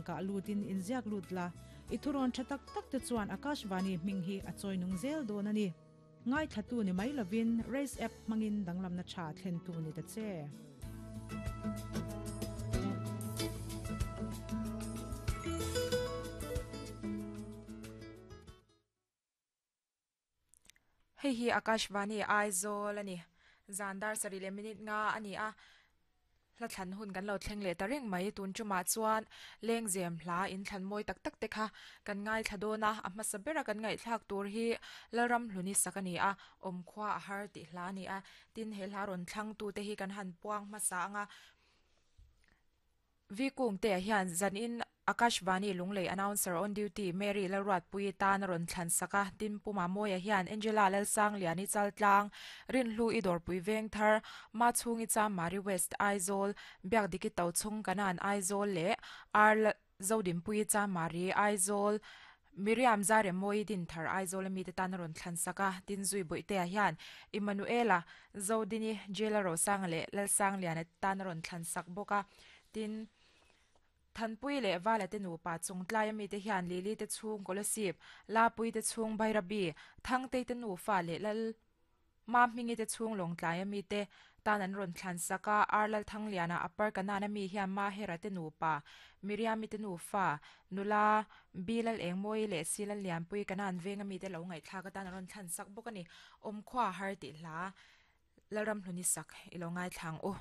link ah lutin inziak lut la, i thurawn tha tak tak te chuan Akashvani hming hi a chawi nung zel dawn a ni. Ngaithlatu ni mai lovin Race app hmangin danglamna tha thlentu ni ta che. Hei hi Akashvani Aizawl a ni. Zan dar sarih leh minute nga a ni a, hla thlan hun kan lo thleng leh ta reng mai. Tun tumah chuan lengzem hla in thlan mawi tak tak te kha kan ngaithla dawn a, a hmasa bera kan ngaihthlak tur hi Lalramhluni sak a ni a, awmkhua a har tih hla a ni a. Tin, he hla rawn thlangtute hi kan han puang hmasa ang a. V Kungtea hian zanin Akashvani Lunglei Announcer on Duty Mary Lalruatpuii tan a rawn thlan sak a, tin Pu Mamawia hian Angela Lalsangliani Chaltlang, Rinhlu i Dawrpui Vengthar, Machhungi Chamari West Aizawl, Biakdiki Tochhung Kanan Aizawl leh Ar Zodinpuii Chamari Aizawl, Miriam Zairemawii Dinthar Aizawl a mite tan a rawn thlan sak a, tin Zui Bawihtea hian Emmanuela Zodini, Jela Rosanga leh Lalsangliana tan a rawn thlan sak bawk a, tin Thanpui leh Vala te nupa chung tlaia mite hian Lili te chhung Kolasib, Lapui te chhung Bairabi, Thangtei te nufa leh Lal Mahmingi te chhung Lawngtlaia mite tan an rawn thlan sak a, Ar Lalthangliana Upper Kanaan-a mi hian Mahera te nupa, Miriami te nufa, nula Bi Lalengmawii leh Si Lallianpui Kanaan venga mite lo ngaihthlak atan a rawn thlan sak bawk a ni. Awmkhua har tih hla Lalramhluni sak i lo ngaithla ang u.